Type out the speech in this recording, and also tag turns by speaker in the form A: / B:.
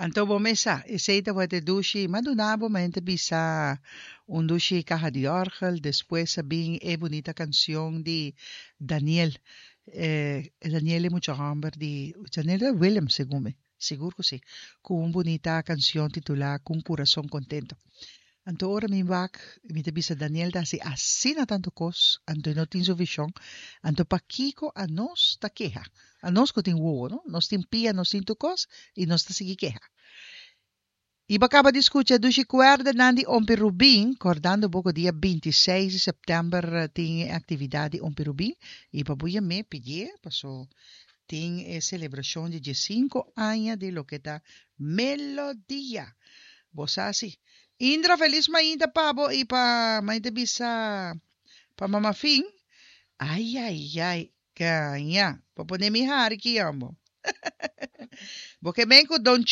A: Anto bo mes sa, esei tabata e dushi, m'a duna bo ma hende bisa un dushi kaha di òrgel, despues a bin e bunita kanshon di Daniel, Daniel e mucha hòmber di, Daniel ta Willem segun mi, sigur ku si, ku un bunita kanshon titulá Ku un kurason kontento. Anto ora mi wak, mi ta bisa Daniel ta hasi asina tantu kos, anto e no tin su vishon, anto pakiko anos ta keha? Anos ku tin wowo, no? Nos tin pia, nos tin tur kos, i nos ta sigui keha. I bo a kaba di skucha Dushi Kuerdanan di Ompi Rubin, kordando bo ku dia 26 di sèptèmber tin e aktividat di Ompi Rubin, i pa bo yam'é pidié, paso tin e selebrashon di 15 aña di loke ta Melodia. Bo sa si. Indra felis mainta pa bo i pa mainta bisa pa mama Fin. Ai ai ai gaña. Bo pone mi hari ki ambo. Bo ke men ku Don.